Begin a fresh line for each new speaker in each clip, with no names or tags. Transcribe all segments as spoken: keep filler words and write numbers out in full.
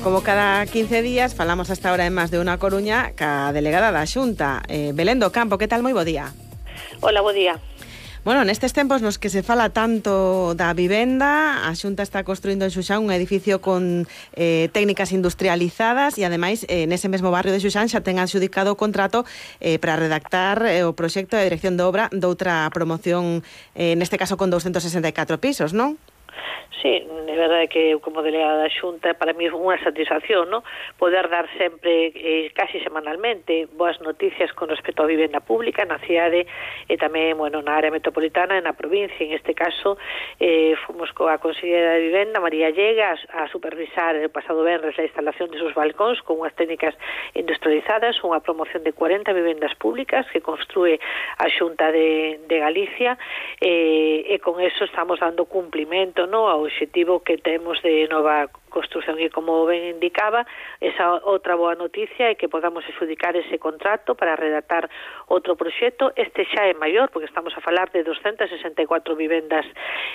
como cada quince días, falamos hasta ahora en Más de Una Coruña ca delegada da Xunta, eh, Belén do Campo. Que tal? Moi bo día.
Hola, bo día.
Bueno, nestes tempos nos que se fala tanto da vivenda, a Xunta está construindo en Xuxán un edificio con eh, técnicas industrializadas e, ademais, eh, nese mesmo barrio de Xuxán xa ten adxudicado o contrato eh, para redactar eh, o proxecto de dirección de obra doutra promoción, eh, neste caso con doscientos sesenta e catro pisos, non?
Sí, é verdade que eu como delegada da Xunta para mí é unha satisfacción, ¿no? Poder dar sempre, eh, casi semanalmente, boas noticias con respecto á vivenda pública na cidade e tamén, bueno, na área metropolitana e na provincia. En este caso, eh, fomos coa Conselleira de Vivenda, María Llega, a, a supervisar el pasado venres a instalación de sus balcóns con unhas técnicas industrializadas, unha promoción de cuarenta vivendas públicas que construe a Xunta de, de Galicia, eh, e con eso estamos dando cumplimento, ¿no?, ao obxectivo que temos de nova construción, e como ben indicaba, esa outra boa noticia é que podamos adxudicar ese contrato para redactar outro proxecto. Este xa é maior, porque estamos a falar de doscientas sesenta e catro vivendas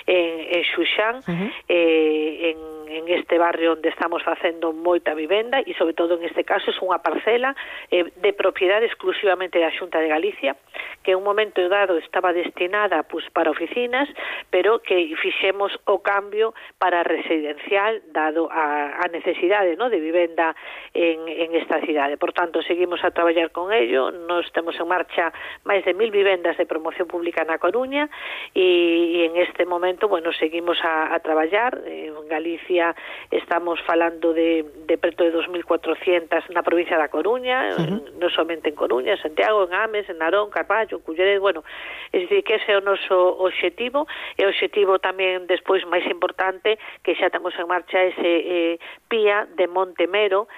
en, en Xuxán, uh-huh. eh, en, en este barrio onde estamos facendo moita vivenda, e sobre todo en este caso é unha parcela eh, de propiedade exclusivamente da Xunta de Galicia, que en un momento dado estaba destinada pues, para oficinas, pero que fixemos o cambio para residencial, dado a, a necesidade, ¿no?, de vivenda en, en esta cidade. Por tanto, seguimos a traballar con ello. Nos temos en marcha máis de mil vivendas de promoción pública na Coruña, e, e en este momento, bueno, seguimos a, a traballar. En Galicia estamos falando de, de preto de dos mil cuatrocentas na provincia da Coruña, uh-huh. non somente en Coruña, en Santiago, en Ames, en Narón, Carballo, Culleredo, bueno, é dicir que ese é o noso obxectivo, e o obxectivo tamén despois máis importante, que xa temos en marcha ese eh, Pía de Montemero,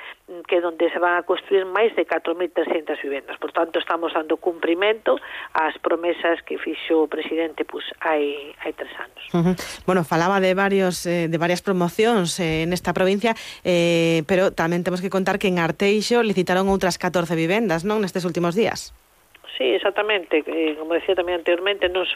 que é onde se van a construir máis de catro mil trescentas vivendas. Por tanto, estamos dando cumprimento ás promesas que fixo o presidente pues, hai, hai tres anos.
Uh-huh. Bueno, falaba de varios eh, de varias promocións eh, nesta provincia, eh, pero tamén temos que contar que en Arteixo licitaron outras catorce vivendas, non, nestes últimos días.
Sí, exactamente. Eh, como decía tamén anteriormente, non só